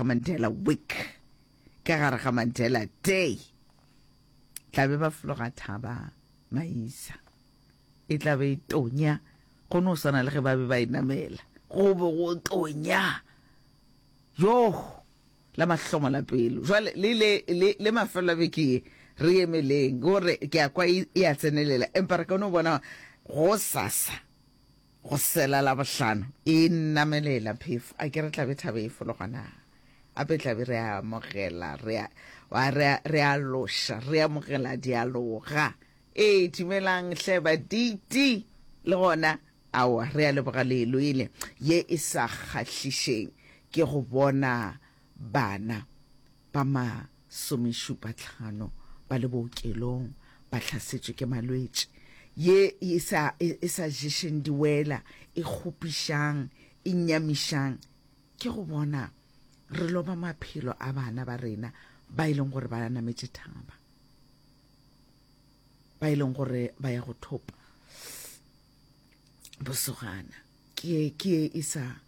ga Mandela Week, ka gare ga Mandela Day. Tla be ba fologa thaba Maisa. E tla be e tonya go no swana le ge ba be ba e namela. Go be go tonya. Yoh! La mahlomola pelo. Jwale le le le le mafelo a beke ye re emeleng gore ke a kwa e, e a tsenelela empa re ka no bona go sasa go sela la bohlano e namelela phefo a ke re tlabe thabe e fologa na ape tlabe re a amogela re a wa re a re a loša re amogela dialoga ee dumelang hle baditi le gona Aowa, re a leboga le lwele. Ye e sa kgahlišeng ke go bona bana ba masomešupatlhano ba le bookelong ba hlasetšwe ke malwetši. Ye e sa, e sa ješeng diwela, e kgopišang, e nyamišang ke go bona re loba maphelo a bana ba rena ba e leng gore ba nametše thaba, ba e leng gore ba ya go thopa. Bosogana ke ye ke ye e sa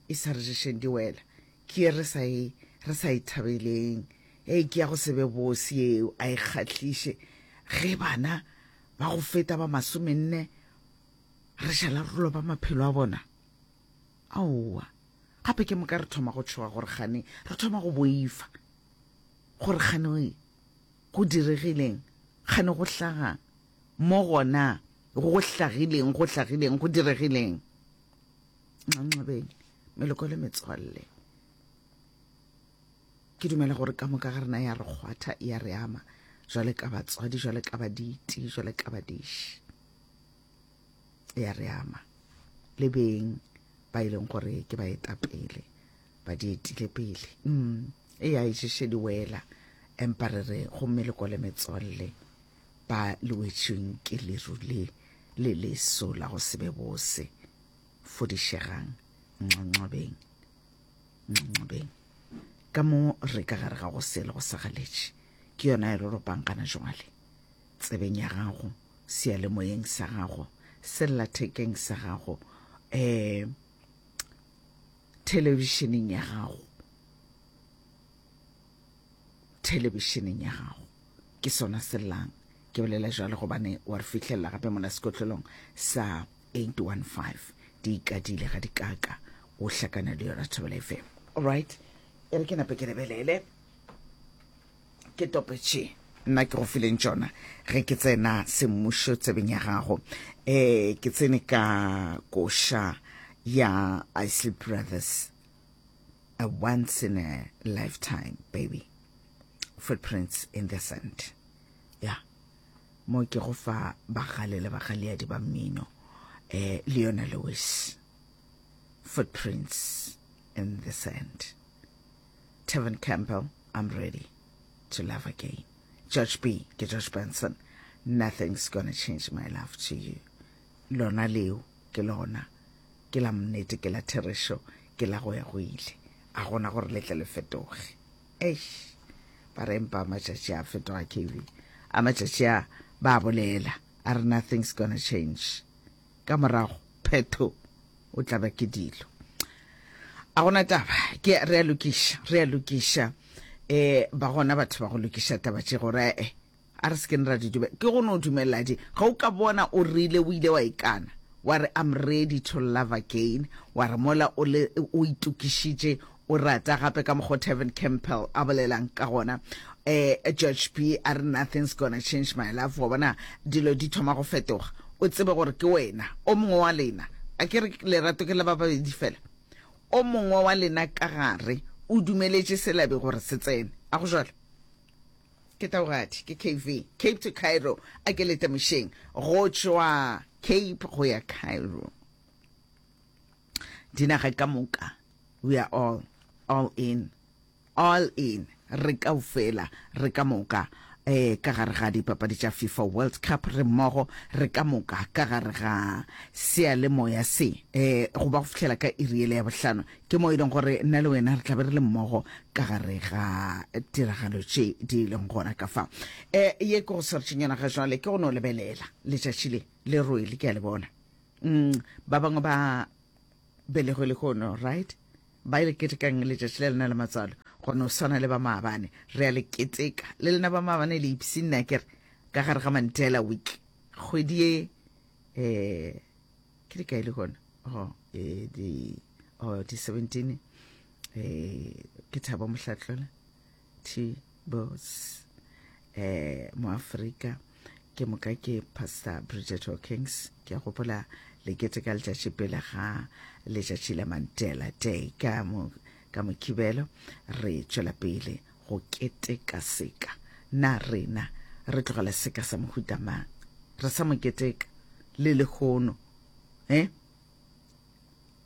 e sa re ješeng diwela ke ye re sa e re sa e thabeleng ei ke ya go se be bose yeo a e kgahliše ge bana ba go feta ba masomenne re šala re loba maphelo a bona aowa gape ke moka re thoma go tšhoga gore gane re thoma go boifa gore gane go diregileng gane go hlagang Mo gona go hlagileng, go hlagileng, go diregileng. Nxanxabeng, meloko le metswalle. Ke dumela gore ka moka ga rena ya re kgwatha, ya re ama, jwale ka batswadi, jwale ka baditi, jwale ka badiši. Ya re ama. Le beng ba e leng gore ke baetapele, ba di etile pele. Mm, e ya e ješe di wela, empa re re go meloko le metswalle. Ba le wetšweng ke leru le le leso la go se be bose. Fodišegang, nxanxabeng, nxanxabeng. Ka mo re ka gare ga go se le go sa galetše. Ke yona e re ropang gana jwale. Tsebeng ya gago, seyalemoyeng sa gago, sellathekeng sa gago, eh, thelebišeneng ya gago, thelebišeneng ya gago. Ke sona se llang. Ke bolela jwalo gobane wa re fihlelela gape mola sekotlelong sa 815. Di ikadile ga di kaka. O hlakana le yona Thobela FM. Alright. E re ke nape ke lebelele. Ke tope tše nna ke go fileng tšona ge ke tsena semmušo tsebeng ya gago. Eh ke tsene ka koša ya Isley Brothers. A once in a lifetime baby. Footprints in the sand. Ya. Mo ke go fa bagale le bagaleadi ba mmino. Eh, Leona Lewis. Footprints in the sand. Tevin Campbell, I'm ready to love again. George B, ke George Benson. Nothing's gonna change my love to you. Lona leo ke lona. Ke la mnete, ke la therešo, ke la go ya go ile. A gona gore le tle le fetoge. Eish, ba re empa matšatši a fetoga KB. A matšatši a ba bolela, a re nothing's gonna change. Ka morago, phetho, o tla ba ke dilo. A gona taba, ke re a lokiša, re a lokiša. Eh, ba gona batho ba go lokiša taba tše gore eh A re se keng ra di dumela. Ke go no dumelela di. Ge o ka bona o rile o ile wa ikana, wa re I'm ready to love again, wa re mola o le o itokišitše o rata gape ka mokgo Tevin Campbell a bolelang ka gona. Eh, George B a re nothing's gonna change my love. Wa bona dilo di thoma go fetoga. O tsebe gore ke wena o mongwe wa lena. A ke re lerato ke la ba babedi fela. O mongwe wa lena ka gare o dumeletše selabi gore se tsene. A go jwalo? Ke Taugadi, ke KV, Cape to Cairo, a ke lete mošeng, go tšwa Cape go ya Cairo. Dinaga ka moka, we are all, all in, all in, re kaofela, re ka moka, eh, ka gare ga dipapadi tša FIFA World Cup, re mmogo, re ka moka, ka gare ga seyalemoya se, eh, go ba go fihlela ka iri yele ya bohlano. Ke mo e leng gore nna le wena re tla be re le mmogo ka gare ga tiragalo tše di leng gona ka fa. Um ye ke go swaretšeng yona ga jwale ke go no lebelela letšatši le le rwele, ke a le bona. Mm, ba bangwe ba belegwe lehono, right? Ba e le ketekang letšatši la lena la matswalo. Go no swana le ba maabane, re a le keteka. Le lena ba maabane le ipshinne akere ka gare ga Mandela Week. Kgwedi ye eh ke di kae le gona? Oh, eh di oh di 17 eh ke Thabo Mohlatlola T Bos eh mo Afrika ke moka ke Pastor Bridget Hawkins ke a gopola le keteka letšatši pele ga letšatši la Mandela Day ka mo Ka Mokibelo re tšwela pele go keteka seka. Na rena re tlogela seka sa mohuta mang? Re sa mo keteka le lehono, eh?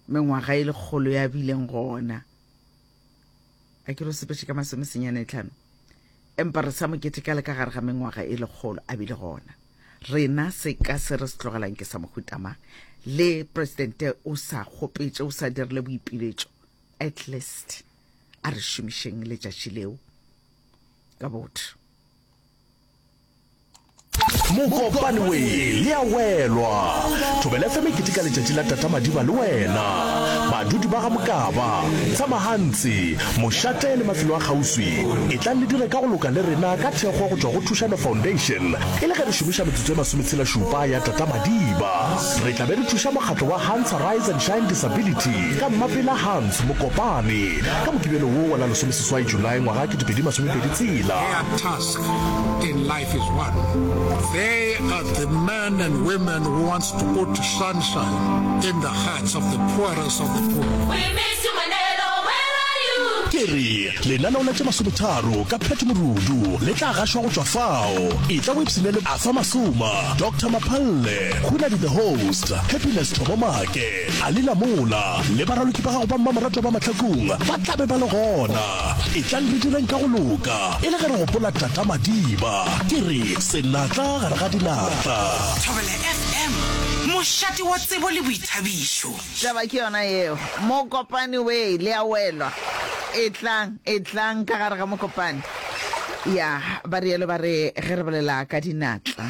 Mengwaga e lekgolo ya bileng gona. A ke re o sepetše ka masomesenyane tlhano. Empa re sa mo keteka le ka gare ga mengwaga e lekgolo a bile gona. Rena seka se re se tlogelang ke sa mohuta mang? Le presidente o sa kgopetše, o sa dirile boipiletšo. At least a re šomišeng letšatši leo ka botho. Mokopane we le a welwa. Thobela FM e keteka letšatši la Tata Madiba le wena. Badudi ba ga Mokaba, Tshamahantsi, Mošate le mafelo a kgauswi, etlang le dire ka go loka le rena ka thekgo go tšwa go Thušano Foundation e le ge re šomiša metsotso e masometshela-šupa ya Tata Madiba. Re tla be re thuša mokgatlo wa Hans Rise and Shine Disability ka Mmapela Hans Mokopane ka Mokibelo wo wa la lesomeseswai Julae ngwaga 2026. Their task in life is one. They are the men and women who wants to put sunshine in the hearts of the poorest of the poor. We miss you Manelo, where are you? Ke re lenaneo la tše masometharo ka Pat Morudu le tla gašwa go tšwa fao. Etla o ipshine le Arthur Masoma, Doctor Maphalle, Hunadi the Host, Happiness Thobo Make, Ali Lamola le baraloki ba gago ba mmamoratwa ba Mahlakung ba tla be ba le gona. Etlang re direng ka go loka e le ge re gopola Tata Madiba. Ke re senatla gare ga dinatla. Thobela FM, mošate wa tsebo le boithabišo. Taba ke yona yeo. Mokopane wee, le a welwa. Etlang, etlang ka gare ga mokopane. Ya, ba rialo ba re ge re bolela ka dinatla,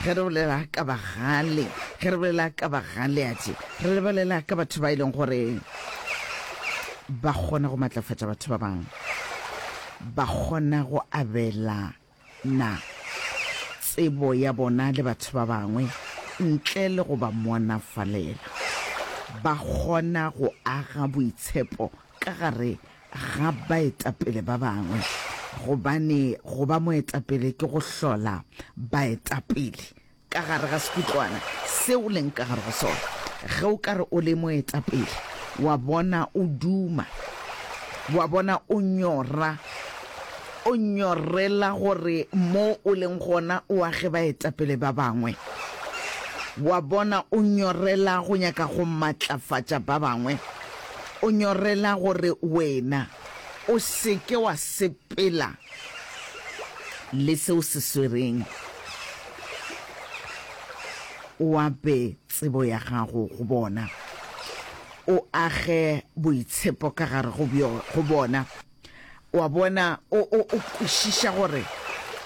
ge re bolela ka bagale, ge re bolela ka bagaleadi, re bolela ka batho ba e leng gore ba kgona go matlafatša batho ba bangwe, ba kgona go abela na tsebo ya bona le batho ba bangwe ntle le go ba monafalela? Ba kgona go aga boitshepo ka gare ga baetapele ba bangwe, gobane go ba moetapele ke go hlola baetapele. Ka gare ga sekutlwana se o leng ka gare go sona. Ge o ka re o le moetapele, wa bona o duma, wa bona o nyora, o nyorela gore mo o leng gona o age baetapele ba bangwe, wa bona o nyorela go nyaka go matlafatša ba bangwe, o nyorela gore wena o se ke wa sepela le se o se swereng. O ape tsebo ya gago go bona, o age boitshepo ka gare go, go bona. O a bona, o, o, o kwešiša gore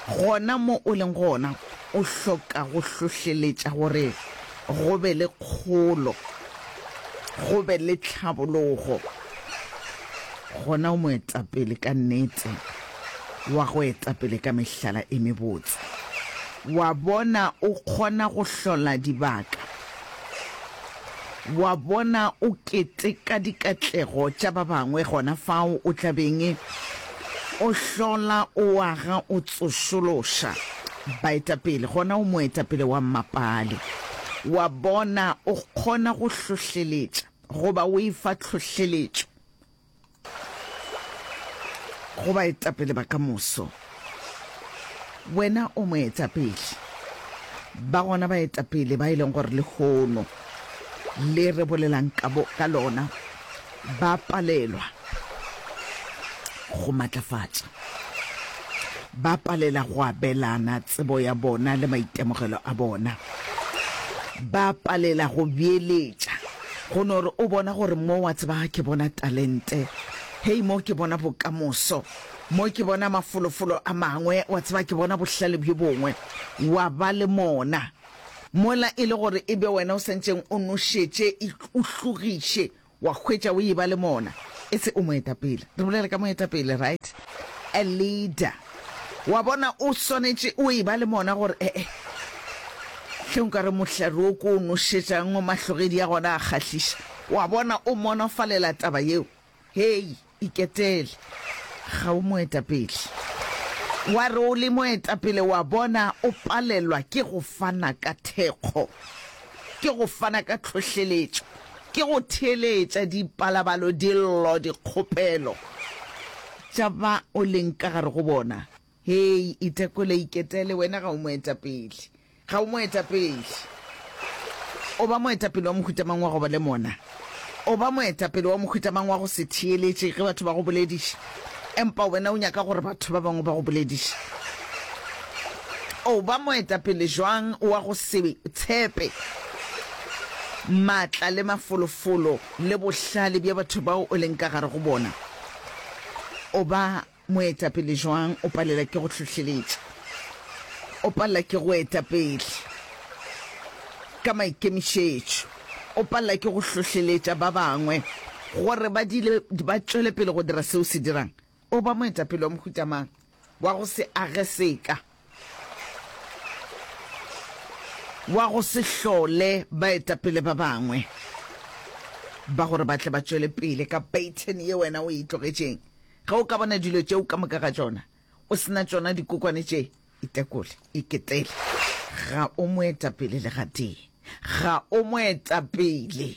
gona mo o leng gona o hloka go hlohleletša gore go be le kgolo, go be le tlhabologo. Gona o moetapele ka nnete. wa go etapele ka mehlala e mebotse. Wa bona o kgona go hlola dibaka. Wa bona o keteka dikatlego tša ba bangwe gona fao o tla beng o hlola o aga o tsošološa baetapele, gona o moetapele wa mmapale. Wa bona o kgona go hlohleletša goba o efa tlhohleletšo. Go baetapele ba ka moso. Wena o moetapele. Ba gona baetapele ba e leng gore lehono le re bolelang ka, bo, ka lona ba palelwa go matlafatša, ba palela go abelana tsebo ya bona le maitemogelo a bona, ba palela go beeletša. Go no re o bona gore mo wa tseba ke bona talente, hei mo ke bona bokamoso, mo ke bona mafolofolo a mangwe, wa tseba ke bona bohlale bjo bongwe, wa ba le mona. Mola e le gore e be wena o santšeng o nošetše, o hlogiše, wa hwetša o eba le mona. E se o moetapele. Re bolela ka moetapele, right? A leader. Wa bona, o swanetše o e ba le mona gore, e-e, hle nka re mohlare wo ko o nošetšang o mahlogedi a gona a kgahliša. Wa bona, o monofalela taba yeo. Hei, iketele. Ga o moetapele. Wa re o le moetapele, wa bona, o palelwa ke go fana ka thekgo, ke go fana ka tlhohleletšo, ke go theeletša dipalabalo, dillo, dikgopelo tša ba o leng ka gare go bona. Hei, itekole, iketele, wena ga o moetapele. Ga o moetapele. O ba moetapele wa mohuta mang wa go ba le mona? O ba moetapele wa mohuta mang wa go se theeletše ge batho ba go bolediša, empa wena o nyaka gore batho ba bangwe ba go bolediše? O ba moetapele jwang wa go se tshepe maatla le mafolofolo le bohlale bja batho bao o leng ka gare go bona? O ba Moetapele jwang o palela ke go hlohleletša? O palela ke go eta pele ka maikemišetšo. O palela ke go hlohleletša ba bangwe gore ba dile ba tšwele pele go dira seo se dirang. O ba moetapele wa mohuta mang? Wa go se age seka. Wa go se hlole baetapele ba bangwe ba gore ba tle ba tšwele pele ka pattern ye wena o e tlogetšeng. Ge o ka bona dilo tšeo ka moka ga tšona, o se na tšona dikokwane tše, itekole, iketele. Ga o moetapele le gatee. Ga o moetapele.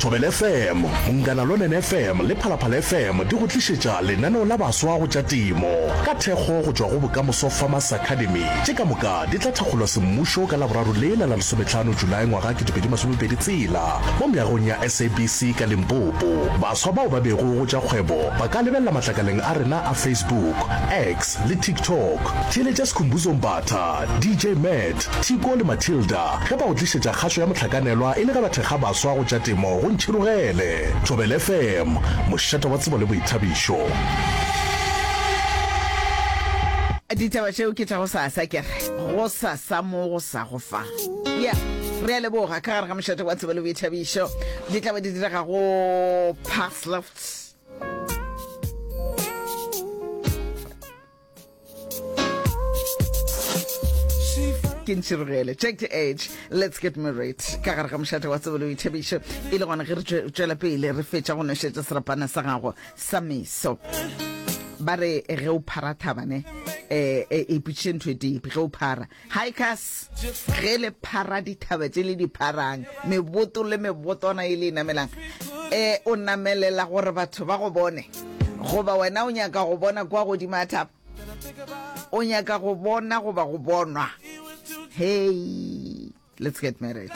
Thobela FM, Munghana Lonene FM le Phalaphala FM di go tlišetša lenaneo la baswa go tša temo ka thekgo go tšwa go Bokamoso Farmers Academy. Tše ka moka di tla thakgolwa semmušo ka Laboraro lela la lesometlhano Julae ngwaga 2020 tsela mo meagong ya SABC ka Limpopo. Baswa bao ba bego go tša kgwebo ba ka lebelela matlakaleng a rena a Facebook, X le TikTok. Theeletša Skhumbuzo Mbatha, DJ Matt, Thiko le Matilda ge ba go tlišetša kgašo ya mohlakanelwa e le ge ba thekga baswa go tša temo go Ntšhirogele. Thobela FM, mošate wa tsebo le boithabišo. Ditaba tšeo ke tša gosasa, ke re gosasa mo go sa go fa. Yeah, re a leboga ka gare ga mošate wa tsebo le boithabišo. Di tla be di direga go Parsloft. Ke ntšhirogele check the age let's get married ka gare ga mošate wa tsebo le boithabišo e le gona ge re tšwela pele re fetša go nošetša serapana sa gago sa meso ba re ge o phara thaba ne eh e ipotšiše ntho e tee ge o phara hikers ge le phara dithaba tše le di pharang meboto le mebotwana e le e namelang eh o namelela gore batho ba go bone goba wena o nyaka go bona kwa godimo a thaba o nyaka go bona goba go bonwa hey let's get married.